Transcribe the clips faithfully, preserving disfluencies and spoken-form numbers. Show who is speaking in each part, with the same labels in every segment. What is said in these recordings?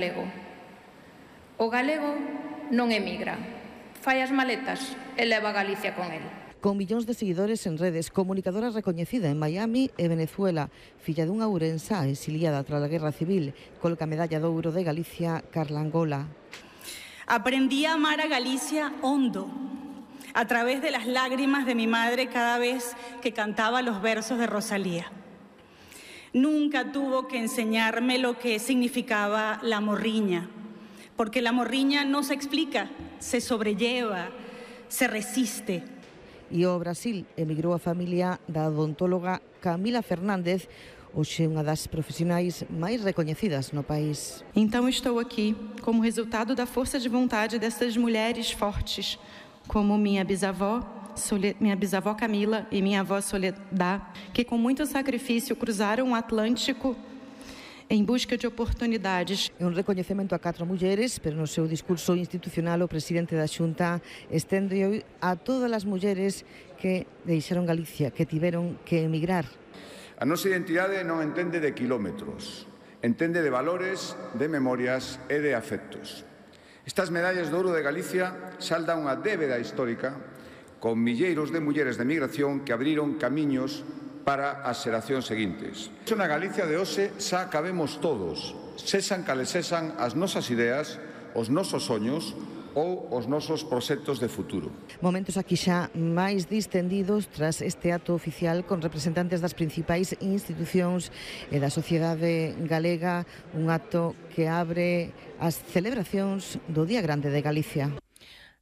Speaker 1: galego. O galego non emigra, fai as maletas e leva a Galicia con el.
Speaker 2: Con millóns de seguidores en redes, comunicadora recoñecida en Miami e Venezuela, filla dunha ourensá exiliada tras a Guerra Civil, colca a medalla de ouro de Galicia, Carla Angola.
Speaker 3: Aprendí a amar a Galicia hondo, a través de las lágrimas de mi madre cada vez que cantaba los versos de Rosalía. Nunca tuvo que enseñarme lo que significaba la morriña, porque la morriña no se explica, se sobrelleva, se resiste.
Speaker 2: E ao Brasil emigrou a familia da odontóloga Camila Fernández, hoxe unha das profesionais máis recoñecidas no país.
Speaker 4: Então estou aqui como resultado da força de vontade dessas mulheres fortes, como minha bisavó, minha bisavó Camila e minha avó Soledad, que com muito sacrifício cruzaram o Atlântico em busca de oportunidades.
Speaker 2: É un recoñecemento a catro mulleres, pero no seu discurso institucional o presidente da Xunta estende a todas as mulleres que deixaron Galicia, que tiveron que emigrar.
Speaker 5: A nosa identidade non entende de quilómetros, entende de valores, de memorias e de afectos. Estas medallas de ouro de Galicia saldan unha débeda histórica con milleiros de mulleres de migración que abriron camiños para as xeracións seguintes. Na Galicia de hoxe xa cabemos todos, sexan cales sexan as nosas ideas, os nosos soños ou os nosos proxectos de futuro.
Speaker 2: Momentos aquí xa máis distendidos tras este acto oficial con representantes das principais institucións e da sociedade galega, un acto que abre as celebracións do Día Grande de Galicia.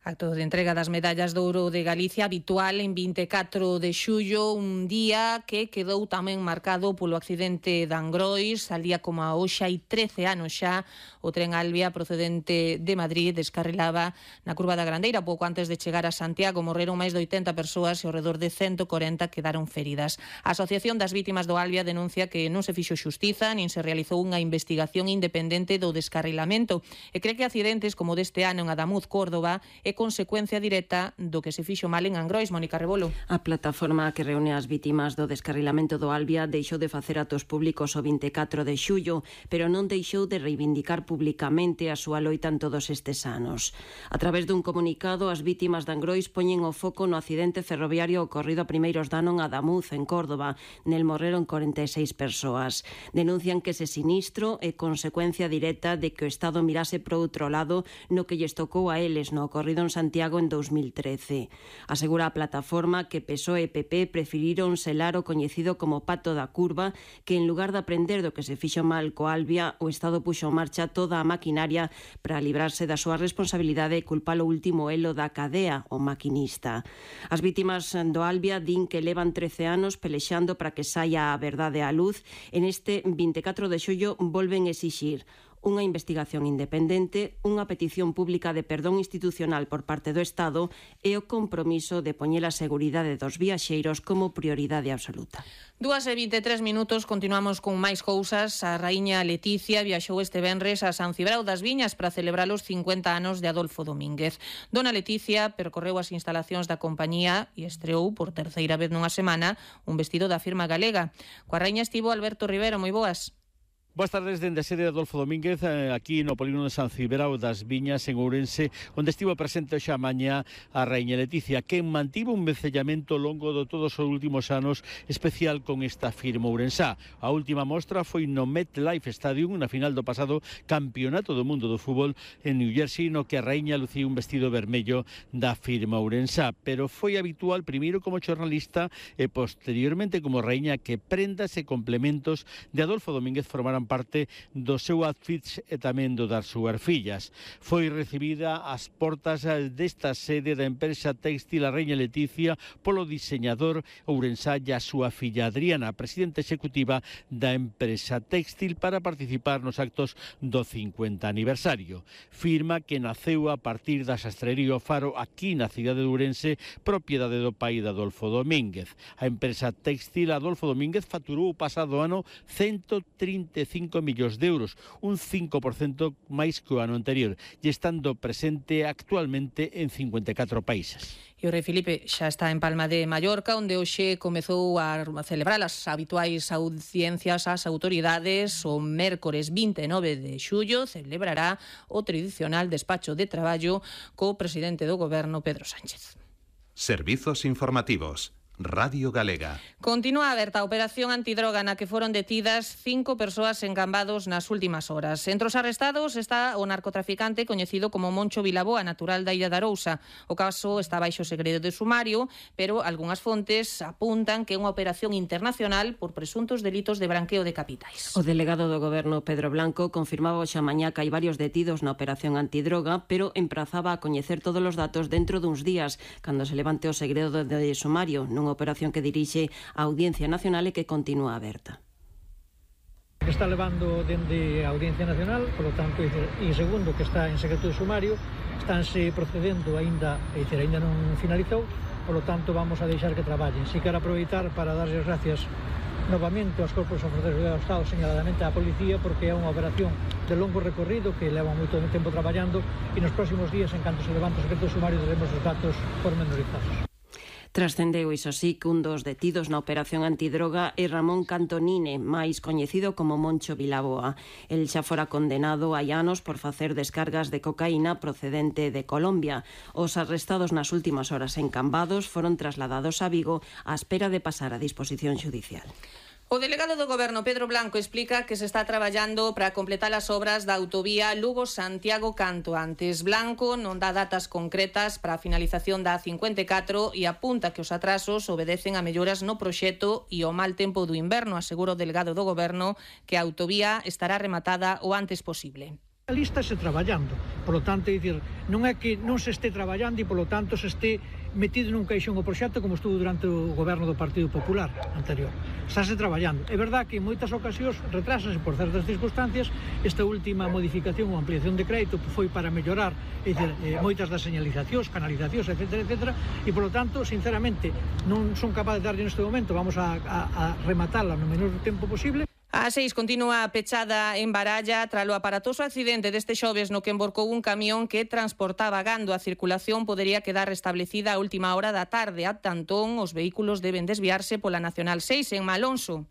Speaker 6: Acto de entrega das medallas de ouro de Galicia habitual en vinte e catro de xullo, un día que quedou tamén marcado polo accidente de Angrois. Al día como a hoxe hai trece anos xa, o tren Albia procedente de Madrid descarrilaba na curva da Grandeira pouco antes de chegar a Santiago. Morreron máis de oitenta persoas e ao redor de ciento corenta quedaron feridas. A Asociación das Vítimas do Albia denuncia que non se fixo xustiza nin se realizou unha investigación independente do descarrilamento e cree que accidentes como deste ano en Adamuz, Córdoba, é consecuencia directa do que se fixo mal en Angrois. Mónica Rebolo.
Speaker 7: A plataforma que reúne as vítimas do descarrilamento do Albia deixou de facer actos públicos o vinte e catro de xullo, pero non deixou de reivindicar publicamente a súa loita en todos estes anos. A través dun comunicado, as vítimas de Angrois poñen o foco no accidente ferroviario ocorrido a primeiros de ano en Adamuz, en Córdoba. Nel morreron corenta e seis persoas. Denuncian que ese sinistro é consecuencia directa de que o Estado mirase para outro lado no que lles tocou a eles no ocorrido en Santiago en dos mil trece. Asegura a plataforma que P S O E e P P preferiron selar o coñecido como pato da curva, que en lugar de aprender do que se fixo mal co Albia, o Estado puxo en marcha toda a maquinaria para librarse da súa responsabilidade e culpar o último elo da cadea, o maquinista. As vítimas do Albia din que levan trece anos pelexando para que saia a verdade á luz. En este vinte e catro de xullo volven exixir unha investigación independente, unha petición pública de perdón institucional por parte do Estado e o compromiso de poñer a seguridade dos viaxeiros como prioridade absoluta.
Speaker 6: Dúas e vinte e tres minutos, continuamos con máis cousas. A raíña Leticia viaxou este venres a San Cibrao das Viñas para celebrar os cincuenta anos de Adolfo Domínguez. Dona Leticia percorreu as instalacións da compañía e estreou por terceira vez nunha semana un vestido da firma galega. Coa raíña estivo Alberto Rivero. Moi boas.
Speaker 8: Boas tardes dende a sede de Adolfo Domínguez, aquí no Polígono de San Cibrao das Viñas, en Ourense, onde estivo presente xa mañá a raíña Leticia, que mantivo un vencellamento longo de todos os últimos anos, especial con esta firma ourensá. A última mostra foi no MetLife Stadium, na final do pasado Campeonato do Mundo do Fútbol en New Jersey, no que a raíña lucía un vestido vermello da firma ourensá, pero foi habitual primeiro como xornalista e posteriormente como raíña que prendas e complementos de Adolfo Domínguez formaran parte do seu outfit e tamén do das súas fillas. Foi recibida ás portas desta sede da empresa téxtil a raíña Leticia polo diseñador ourensá e a súa filla Adriana, presidenta executiva da empresa téxtil, para participar nos actos do cincuenta aniversario. Firma que naceu a partir da xastrería O Faro aquí na cidade de Ourense, propiedade do pai de Adolfo Domínguez. A empresa téxtil Adolfo Domínguez facturou o pasado ano ciento trinta e cinco cinco millóns de euros, un cinco por cento máis que o ano anterior, e estando presente actualmente en cincuenta e catro países.
Speaker 6: E o rei Filipe xa está en Palma de Mallorca, onde hoxe comezou a celebrar as habituais audiencias ás autoridades. O mércores vinte e nove de xullo celebrará o tradicional despacho de traballo co presidente do goberno, Pedro Sánchez.
Speaker 9: Servizos informativos. Radio Galega.
Speaker 6: Continúa aberta a operación antidroga na que foron detidas cinco persoas en Cambados nas últimas horas. Entre os arrestados está o narcotraficante coñecido como Moncho Vilaboa, natural da Illa de Arousa. O caso está baixo segredo de sumario, pero algunhas fontes apuntan que é unha operación internacional por presuntos delitos de branqueo de capitais.
Speaker 7: O delegado do goberno, Pedro Blanco, confirmaba hoxe a mañá que hai varios detidos na operación antidroga, pero emprazaba a coñecer todos os datos dentro duns días, cando se levante o segredo de sumario, nun operación que dirixe a Audiencia Nacional e que continúa aberta.
Speaker 10: Está levando dende a Audiencia Nacional, por lo tanto, e segundo, que está en secreto de sumario, estánse procedendo aínda, e dizer, aínda non finalizou, por lo tanto, vamos a deixar que traballen. Si quero aproveitar para darles gracias novamente aos corpos e forzas do Estado, señaladamente á policía, porque é unha operación de longo recorrido que leva moito tempo traballando, e nos próximos días, en canto se levante o secreto de sumario, teremos os datos pormenorizados.
Speaker 7: Trascendeu, iso sí, que un dos detidos na operación antidroga é Ramón Cantonine, máis coñecido como Moncho Vilaboa. El xa fora condenado hai anos por facer descargas de cocaína procedente de Colombia. Os arrestados nas últimas horas en Cambados foron trasladados a Vigo á espera de pasar a disposición xudicial.
Speaker 6: O delegado do goberno, Pedro Blanco, explica que se está traballando para completar as obras da autovía Lugo-Santiago canto antes. Blanco non dá datas concretas para a finalización da A cincuenta e catro e apunta que os atrasos obedecen a melloras no proxecto e o mal tempo do inverno. Asegura o delegado do goberno que a autovía estará rematada o antes posible.
Speaker 10: Ali estáse traballando, polo tanto, é dicir, non é que non se este traballando e polo tanto se este metido nun caixón o proxecto como estuvo durante o goberno do Partido Popular anterior. Estáse traballando. É verdad que en moitas ocasións retrásase por certas circunstancias. Esta última modificación ou ampliación de crédito foi para mellorar, é dicir, eh, moitas das señalizacións, canalizacións, etcétera, etcétera, e polo tanto, sinceramente, non son capaz de darlle neste momento, vamos a, a, a rematala no menor tempo posible.
Speaker 6: A seis continúa pechada en Baralla tralo aparatoso accidente deste xoves no que emborcou un camión que transportaba gando. A circulación podería quedar restablecida a última hora da tarde. Ata entón, os vehículos deben desviarse pola Nacional seis en Malonso.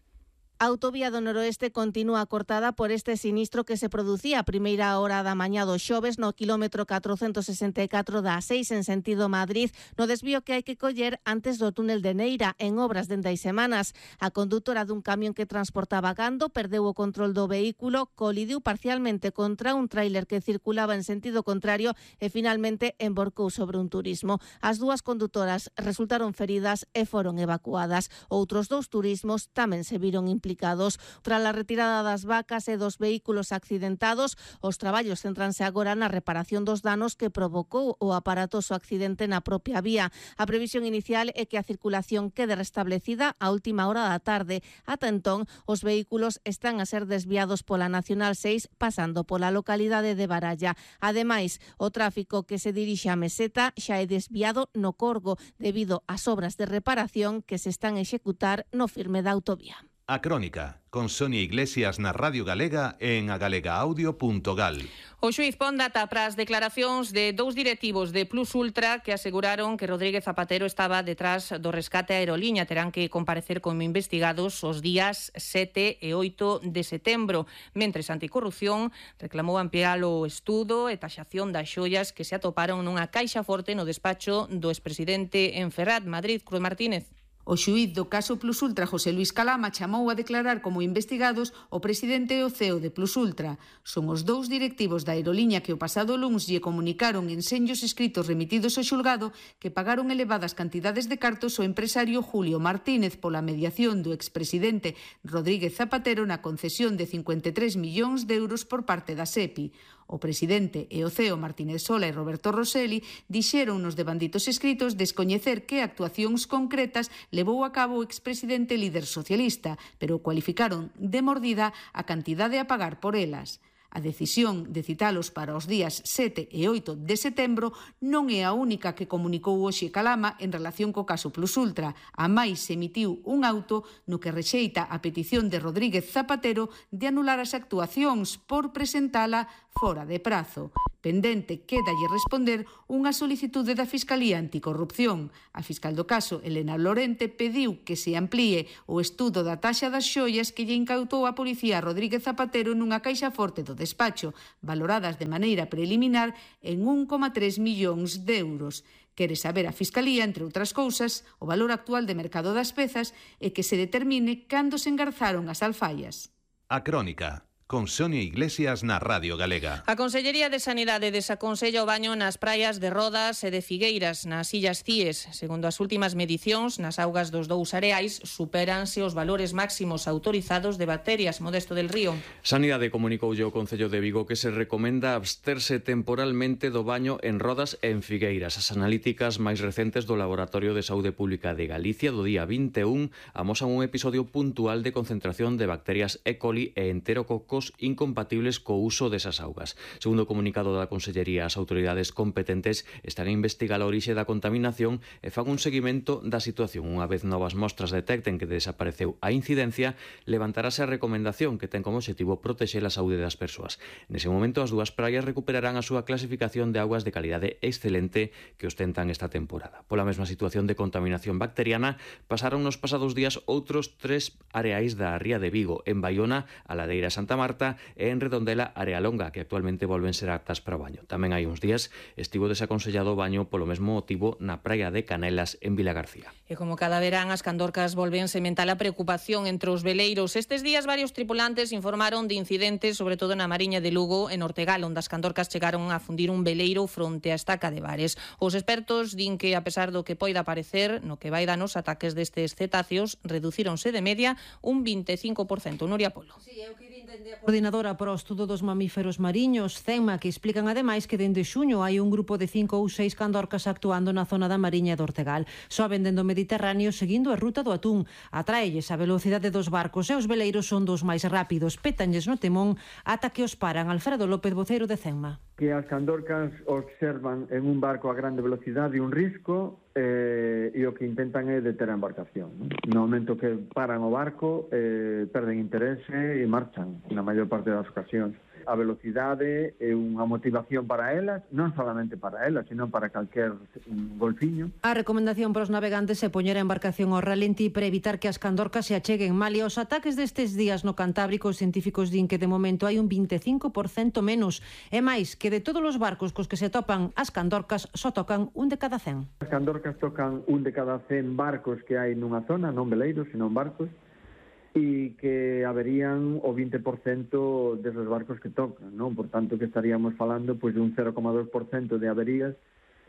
Speaker 11: A autovía do Noroeste continúa cortada por este sinistro que se producía a primeira hora da mañá do xoves no quilómetro catrocentos sesenta e catro da A seis en sentido Madrid, no desvío que hai que coller antes do túnel de Neira, en obras dende hai semanas. A condutora dun camión que transportaba gando perdeu o control do vehículo, colidiu parcialmente contra un tráiler que circulaba en sentido contrario e finalmente emborcou sobre un turismo. As dúas condutoras resultaron feridas e foron evacuadas. Outros dous turismos tamén se viron implicados. Tras a retirada das vacas e dos vehículos accidentados, os traballos centranse agora na reparación dos danos que provocou o aparatoso accidente na propia vía. A previsión inicial é que a circulación quede restablecida a última hora da tarde. Ata entón, os vehículos están a ser desviados pola Nacional seis pasando pola localidade de Baralla. Ademais, o tráfico que se dirixe a Meseta xa é desviado no Corgo debido ás obras de reparación que se están a executar no firme da autovía.
Speaker 9: A Crónica, con Sonia Iglesias na Radio Galega e en agalegaaudio punto gal.
Speaker 6: O xuíz pon data para as declaracións de dous directivos de Plus Ultra que aseguraron que Rodríguez Zapatero estaba detrás do rescate a aeroliña. Terán que comparecer como investigados os días sete e oito de setembro. Mentres Anticorrupción reclamou ampliar o estudo e taxación das xoias que se atoparon nunha caixa forte no despacho do expresidente en Ferrat, Madrid. Cruz Martínez.
Speaker 12: O xuíz do caso Plus Ultra, José Luis Calama, chamou a declarar como investigados o presidente e o C E O de Plus Ultra. Son os dous directivos da aeroliña que o pasado luns lle comunicaron en senllos escritos remitidos ao xulgado que pagaron elevadas cantidades de cartos ao empresario Julio Martínez pola mediación do expresidente Rodríguez Zapatero na concesión de cincuenta e tres millóns de euros por parte da SEPI. O presidente e o C E O Martínez Sola e Roberto Rosselli dixeron nos devanditos escritos descoñecer que actuacións concretas levou a cabo o expresidente líder socialista, pero cualificaron de mordida a cantidade a pagar por elas. A decisión de citalos para os días sete e oito de setembro non é a única que comunicou hoxe Calama en relación co caso Plus Ultra. A máis emitiu un auto no que rexeita a petición de Rodríguez Zapatero de anular as actuacións por presentala fora de prazo. Pendente quédalle responder unha solicitude da Fiscalía Anticorrupción. A fiscal do caso, Elena Lorente, pediu que se amplíe o estudo da taxa das xoias que lle incautou a policía Rodríguez Zapatero nunha caixa forte do despacho, valoradas de maneira preliminar en un coma tres millóns de euros. Quere saber a Fiscalía, entre outras cousas, o valor actual de mercado das pezas e que se determine cando se engarzaron as alfaias.
Speaker 9: A Crónica, con Sonia Iglesias na Radio Galega.
Speaker 6: A Consellería de Sanidade desaconsella o baño nas praias de Rodas e de Figueiras, nas Illas Cíes. Segundo as últimas medicións, nas augas dos dous areais supéranse os valores máximos autorizados de bacterias. Modesto del Río.
Speaker 13: Sanidade comunicoulle ao Concello de Vigo que se recomenda absterse temporalmente do baño en Rodas e en Figueiras. As analíticas máis recentes do Laboratorio de Saúde Pública de Galicia do día vinte e un amosan un episodio puntual de concentración de bacterias E. coli e enterococos incompatibles co uso desas augas. Segundo o comunicado da Consellería, as autoridades competentes están a investigar a orixe da contaminación e fan un seguimento da situación. Unha vez novas mostras detecten que desapareceu a incidencia, levantarase a recomendación que ten como objetivo protexer a saúde das persoas. Nese momento, as dúas praias recuperarán a súa clasificación de augas de calidade excelente que ostentan esta temporada. Pola mesma situación de contaminación bacteriana, pasaron nos pasados días outros tres areais da Ría de Vigo, en Baiona, a Ladeira Santa Marta e en Redondela, Area Longa, que actualmente volven ser aptas para o baño. Tamén hai uns días estivo desaconsellado o baño polo mesmo motivo na praia de Canelas, en Vilagarcía.
Speaker 6: E como cada verán, as candorcas volven sementar a preocupación entre os veleiros. Estes días varios tripulantes informaron de incidentes, sobre todo na Mariña de Lugo, en Ortegal, onde as candorcas chegaron a fundir un veleiro fronte á estaca de Bares. Os expertos din que, a pesar do que poida parecer, no que vai dar nos ataques destes cetáceos, reducíronse de media un vinte e cinco por cento. Nuria Polo.
Speaker 14: Sí, eu quería entender a coordinadora para o estudo dos mamíferos mariños, CEMA, que explican ademais que dende xuño hai un grupo de cinco ou seis candorcas actuando na zona da Mariña de Ortegal. Soben dende o Mediterráneo seguindo a ruta do atún. Atraelles a velocidade dos barcos e os veleiros son dos máis rápidos. Pétanlles no temón ata que os paran. Alfredo López, voceiro de CEMA.
Speaker 15: Que as candorcas observan en un barco a grande velocidade un risco eh, e o que intentan é deter a embarcación. No momento que paran o barco, eh, perden interese e marchan, na maior parte das ocasións. A velocidade é unha motivación para elas, non solamente para elas, sino para calquer golfiño.
Speaker 14: A recomendación para os navegantes é poñer a embarcación ao ralentí para evitar que as candorcas se acheguen mal, e os ataques destes días no Cantábrico, os científicos din que de momento hai un vinte e cinco por cento menos. E máis, que de todos os barcos cos que se topan as candorcas só tocan un de cada cen.
Speaker 15: As candorcas tocan un de cada cen barcos que hai nunha zona, non veleiros, sino barcos, e que haberían o vinte por cento desos barcos que tocan, non? Por tanto, que estaríamos falando pois, de un cero coma dos por cento de averías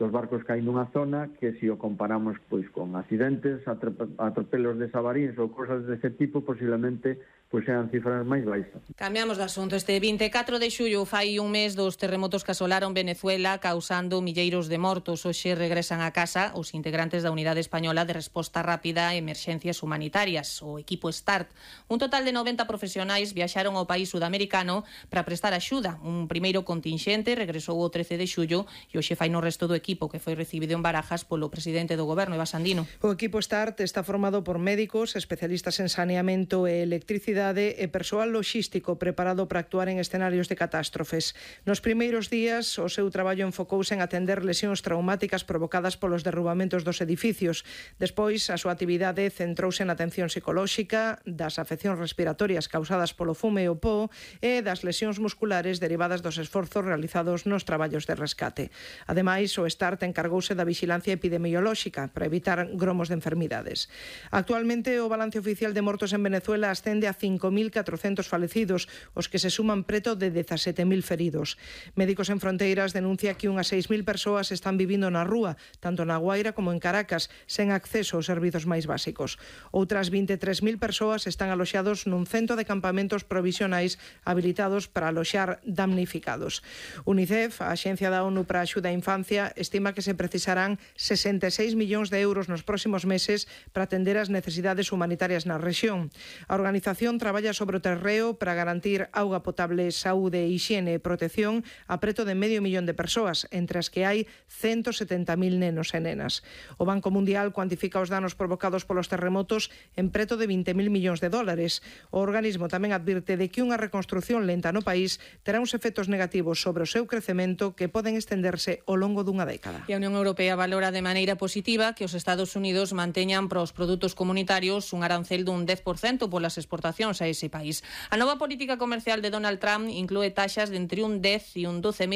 Speaker 15: dos barcos que hai nunha zona que, se o comparamos pois, con accidentes, atropelos de sabaríns ou cosas dese tipo, posiblemente pois sean cifras máis baixas.
Speaker 6: Cambiamos de asunto. Este vinte e catro de xullo fai un mes dos terremotos que asolaron Venezuela, causando milleiros de mortos. Hoxe regresan a casa os integrantes da Unidade Española de Resposta Rápida a Emerxencias Humanitarias, o equipo START. Un total de noventa profesionais viaxaron ao país sudamericano para prestar axuda. Un primeiro contingente regresou o trece de xullo e hoxe fai no resto do equipo, que foi recibido en Barajas polo presidente do goberno, Eva Sandino.
Speaker 16: O equipo START está formado por médicos, especialistas en saneamento e electricidade e persoal loxístico preparado para actuar en escenarios de catástrofes. Nos primeiros días, o seu traballo enfocouse en atender lesións traumáticas provocadas polos derrubamentos dos edificios. Despois, a súa actividade centrouse na atención psicolóxica, das afeccións respiratorias causadas polo fume e o pó e das lesións musculares derivadas dos esforzos realizados nos traballos de rescate. Ademais, o START encargouse da vigilancia epidemiolóxica para evitar gromos de enfermidades. Actualmente, o balance oficial de mortos en Venezuela ascende a cinco mil catrocentos falecidos, os que se suman preto de dezasete mil feridos. Médicos en Fronteiras denuncia que unhas seis mil persoas están vivindo na rúa, tanto na Guaira como en Caracas, sen acceso aos servizos máis básicos. Outras vinte e tres mil persoas están aloxados nun centro de campamentos provisionais habilitados para aloxar damnificados. UNICEF, a Axencia da ONU para a Axuda á Infancia, estima que se precisarán sesenta e seis millóns de euros nos próximos meses para atender as necesidades humanitarias na rexión. A organización traballa sobre o terreo para garantir auga potable, saúde, hixiene e protección a preto de medio millón de persoas, entre as que hai ciento setenta mil nenos e nenas. O Banco Mundial cuantifica os danos provocados polos terremotos en preto de vinte mil millóns de dólares. O organismo tamén advirte de que unha reconstrucción lenta no país terá uns efectos negativos sobre o seu crecemento que poden estenderse ao longo dunha década.
Speaker 6: E a Unión Europea valora de maneira positiva que os Estados Unidos manteñan para os produtos comunitarios un arancel dun dez por cento polas exportacións a ese país. A nova política comercial de Donald Trump inclúe taxas de entre un dez e un doce